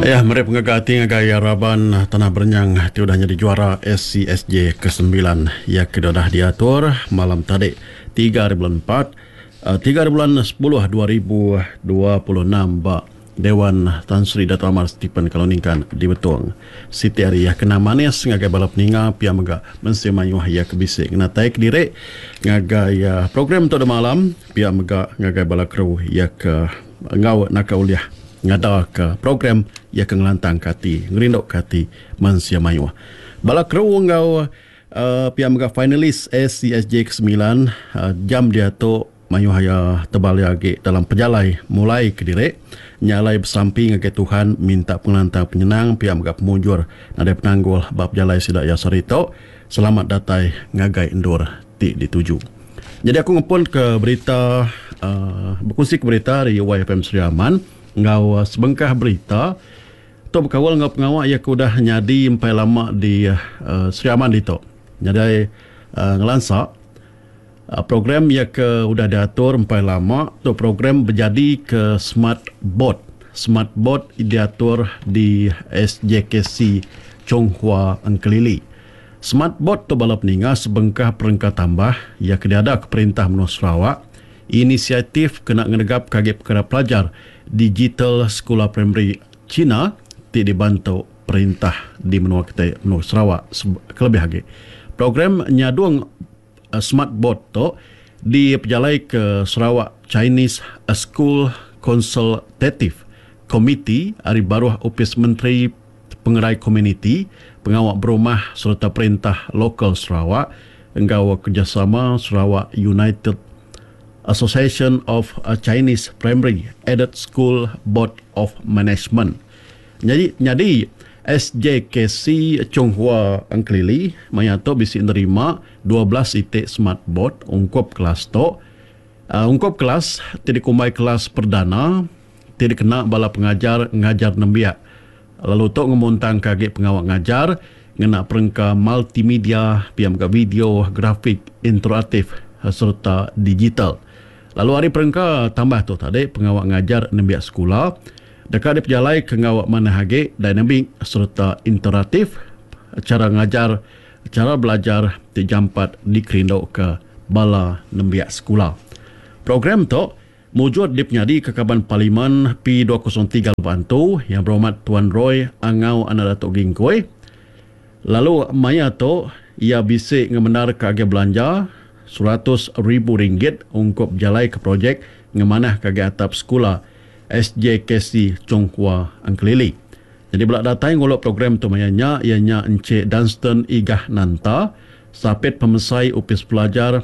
Iya meri pengaga ati ngagai raban Tanah Berenyang ti udah nyadi juara SCSJ kesembilan iya ke udah diatur malam tadi tiga hari bulan empat tiga hari bulan sepuluh 2026 ba Dewan Tan Sri Datuk Amar Stephen Kalong Ningkan di Betong. Siti ari iya kena manis ngagai bala peninga pia mega mensia mayuh iya ke bisi ngenatai kediri ngagai program tu demalam pia mega ngagai bala kru iya ke enggau naka ulih ngadaka program iya ke ngelantangka ati ngerinduka ati mensia mayuh. Bala kru enggau pia mega finalis ACSJ ke semilan jam diatu Mayuh iya tebal iya agi dalam pejalai mulai kediri nya alai besampi ngagai Tuhan minta pengelantang penyenang pia mega pemujur nadai penanggul ba pejalai sida iya sehari tu. Selamat datai ngagai endur ti dituju. Nyadi aku ngepun ke berita uhh bekunsi ke berita ari YFM Sri Aman enggau sebengkah berita tu bekaul enggau pengawa iya ke udah nyadi empai lama di uhh Sri Aman ditu. Nyadi uhh ngelansa. Program iya ke udah diatur empai lama tu program bejadika Smart Board. Smart Board diatur di SJKC Chung Hua Engkelili. Smart Board tu bala peninga sebengkah perengka tambah iya ke diadaka perintah menua Sarawak inisiatif kena ngenegapka agi pekara pelajar digital sekula primari China ti dibantu perintah di menua kitai menua Sarawak kelebih agi program nyadung Smart Board tu dipejalaika Sarawak Chinese School Consultative Committee ari baruh Opis Menteri Pengerai Komuniti, Pengawa Berumah sereta Perintah Lokal Sarawak enggau kerejasama Sarawak United Association of Chinese Primary Aided School Board of Management. Nyadi nyadi SJKC Chung Hua Engkelili maya tu bisi nerima 12 iti smart board ungkup kelas tu. Ungkup kelas ti dikumbai kelas perdana ti dikena bala pengajar ngajar nembiak lalu tu ngemuntangka agi pengawa ngajar ngena perengka multimedia pia mega video, grafik, interaktif sereta digital. Lalu ari perengka tambah tu tadi pengawa ngajar nembiak sekula Deka dipejalaika enggau manah agi, dinamik sereta interaktif, chara ngajar, chara belajar ti jampat dikerinduka bala nembiak sekula. Program tu mujur dipenyadika Kaban Parlimen P 203 Lubok Antu, Yang Berhormat Tuan Roy Angau Anak Datuk Gingkoi lalu maya tu iya bisi ngemendarka agih belanja 100 ribu ringgit ungkup bejalaika projek ngemanahka agi atap sekula SJKC Chung Hua Engkelili. Nyadi bela datai ngulu program tu maya nya iya nya Encik Dunstan Igah Nanta, Sapit Pemesai Opis Pelajar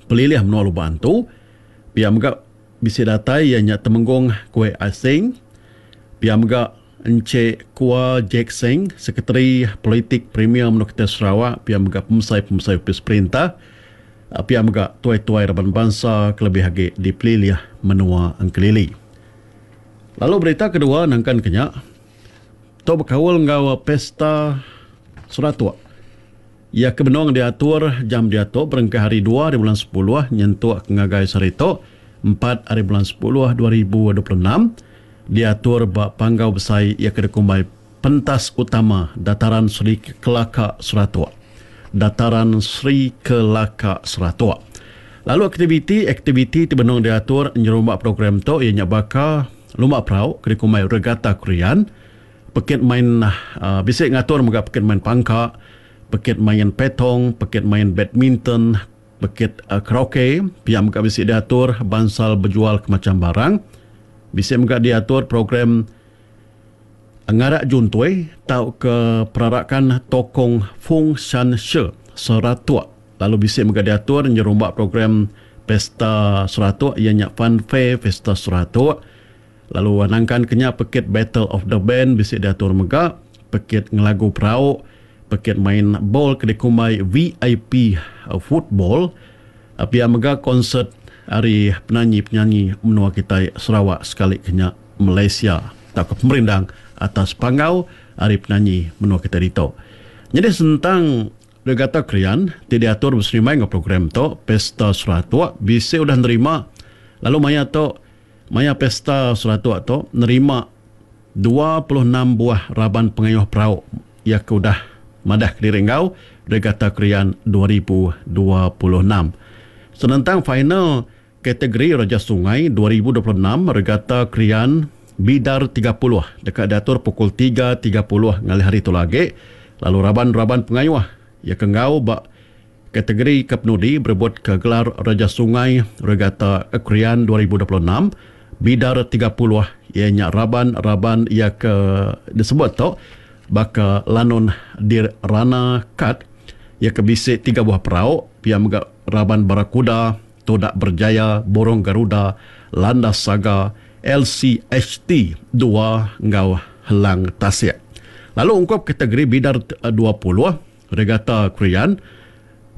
Pelilih Menua Lubok Antu. Pia mega bisi datai iya nya Temenggung Kuek Ah Sing. Pia mega Encik Kua Jack Seng, Sekretari Politik Premier Menua Kitai Sarawak, pia mega pemesai-pemesai opis perintah. Pia mega tuai-tuai raban bansa kelebih agi di pelilih menua Engkelili. Lalu berita kedua nangkan ke nya, tu bekaul enggau Pesta Seratok. Iya ke benung diatur jam diatu berengkah hari dua ari bulan sepuluh nyentuk ke ngagai sehari tu, empat ari bulan sepuluh 2026, diatur ba Panggau Besai iya ke dikumbai Pentas Utama Dataran Sri Kelaka Seratok. Dataran Sri Kelaka Seratok. Lalu aktiviti-aktiviti ti benung diatur nyerumba program tu iya nya baka lumba perau ke dikumbai Regatta Krian, pekit main bisi ngatur mega pekit main pangka, pekit main petong, pekit main badminton, pekit karaoke, pia mega bisi diatur bansal bejual ke macham barang. Bisi mega diatur program Ngarak Juntui tauka Perarakan Tokong Fung Shan She Seratok lalu bisi mega diatur nyerumba program Pesta Seratok iya nya Fun Fair Pesta Seratok lalu nangkan ke nya pekit Battle of the Band bisi diatur mega, pekit ngelagu perau, pekit main bol ke dikumbai VIP Football pia mega konsert ari penanyi-penyanyi menua kitai Sarawak sekali ke nya. Malaysia tauka pemerindang atas panggau ari penanyi menua kitai ditu. Nyadi sentang Regatta Krian ti diatur beserimbai enggau program tu, Pesta Seratok bisi udah nerima lalu maya tu maya Pesta Seratok tu nerima. 26 buah raban pengayuh perau iya ke udah madah kediri enggau Regata Krian 2026. Senentang final kategori Raja Sungai 2026 Regata Krian Bidar 30 deka diatur pukul 3:30 ngalih hari tu lagi lalu raban-raban pengayuh iya ke enggau ba kategori ke penudi berebut ke gelar Raja Sungai Regata Krian 2026 Bidar 30 iya nya raban-raban iya ke disebut tu baka Lanun Dirana Kat iya ke bisi tiga buah perau pia mega raban Barakuda, Todak Berjaya, Burung Garuda, Landas Saga, LCHT dua enggau Helang Tasik. Lalu ungkup kategori Bidar 20, Regata Krian,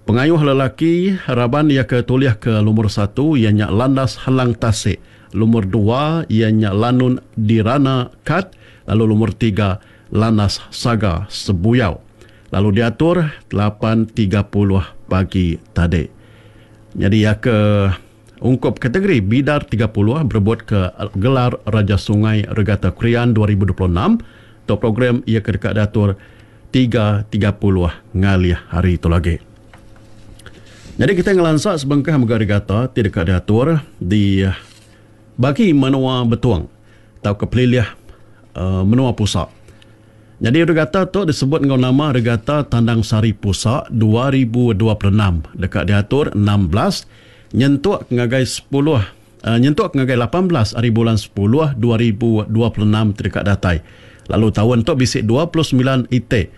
pengayuh lelaki raban iya ke tulih ke lumur satu iya nya Landas Helang Tasik, lumur dua iya nya Lanun Dirana Kat lalu lumur tiga Landas Saga Sebuyau lalu diatur 8:30 pagi tadi. Nyadi iya ke ungkup kategori Bidar 30 berebut ke gelar Raja Sungai Regata Krian 2026 tu program iya ke deka diatur 3:30 ngalih hari tu lagi. Nyadi kitai ngelansa sebengkah mega regata ti deka diatur di bagi menua Betong tauka pelilih menua Pusa. Nyadi regata tu disebut enggau nama Regata Tandang Sari Pusa 2026 deka diatur 16 nyentuk ngagai 10 nyentuk ngagai 18 ari bulan 10 2026 ti deka datai. Lalu taun tu bisi 29 iti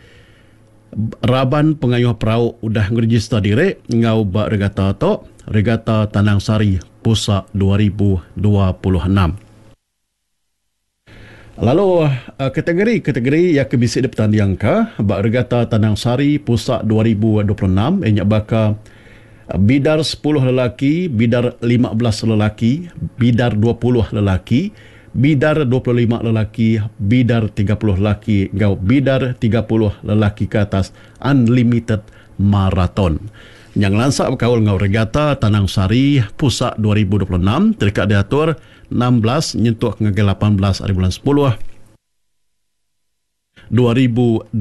raban pengayuh perau udah ngerejista diri enggau ba regata tu, Regata Tandang Sari Pusa 2026. Lalu kategori-kategori iya ke bisi dipetandingka ba Regata Tandang Sari Pusa 2026 iya nya baka Bidar 10 lelaki, Bidar 15 lelaki, Bidar 20 lelaki, Bidar 25 lelaki, Bidar 30 lelaki enggau Bidar 30 lelaki ke atas Unlimited Marathon. Nya ngelansa bekaul enggau Regata Tandang Sari Pusa 2026 ti deka diatur 16 nyentuk ngagai 18 ari bulan 10, 2026.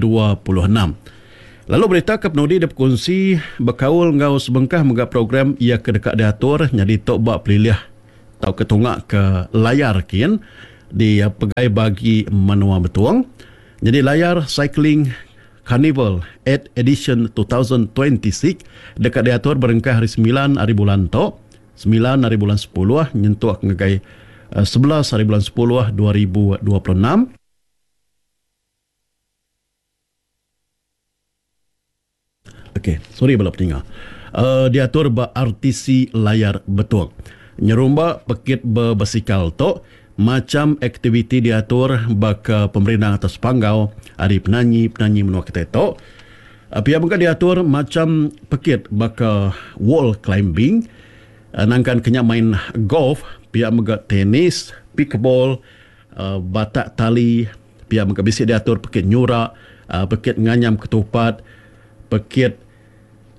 Lalu berita ke penudi dipekunsi bekaul enggau sebengkah mega program iya ke deka diatur nyadi tu ba pelilih tauka tunga ke Layar kin di pegai bagi menua Betong. Nyadi Layar Cycling Carnival 8 Edition 2026 deka diatur berengkah hari 9 ari bulan tu 9 ari bulan 10 nyentuk ngagai 11 ari bulan 10 2026. Okey, sorry bala peninga. Diatur ba RTC Layar Betong. Nyerumba pekit bebasikal tu, macham aktiviti diatur baka pemerindang atas panggau ari penanyi-penanyi menua kitai tu. Pia mega diatur macham pekit baka wall climbing, nangkan ke nya main golf, pia mega tenis, pickleball, batak tali, pia mega bisi diatur pekit nyura, pekit nganyam ketupat, pekit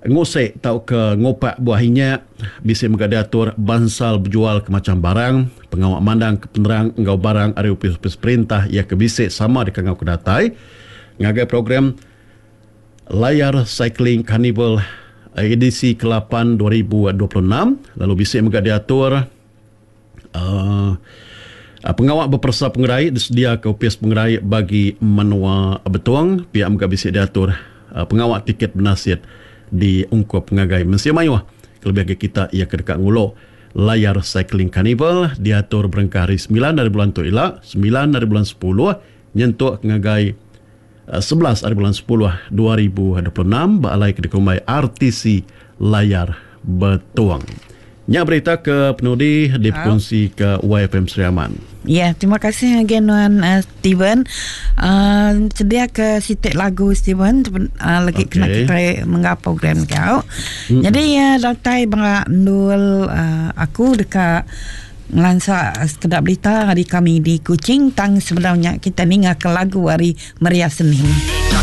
ngusek tauka ngupak buah inyak, bisi mega diatur bansal bejual ke macham barang, pengawa mandang ke penerang enggau barang ari opis-opis perintah iya ke bisi sama dikangau ke datai ngagai program Layar Cycling Carnival edisi ke-8 2026 lalu bisi mega diatur uhh pengawa beperesa pengerai disediaka Opis Pengerai bagi Menua Betong pia mega bisi diatur pengawa tiket benasit diungkup ngagai mensia mayuh kelebih agi kita iya ke deka ngulu Layar Cycling Carnival diatur berengkah hari 9 ari bulan tu ila 9 ari bulan 10 nyentuk ngagai 11 ari bulan 10 2026 ba alai ke dikumbai RTC Layar Betong. Nya berita ke penudi dipekunsi ke YFM Sri Aman. Ya, terima kasih ngagai nuan uh, Steven. Uh, sedia ke siti lagu Steven uh, lagi okay. kena kita menggap program kau. Jadi uh, datai ba endul uh, aku deka Ngelansa sekeda berita ari kami di Kuching tang sebedau nya kita ninga ke lagu ari Maria Senin.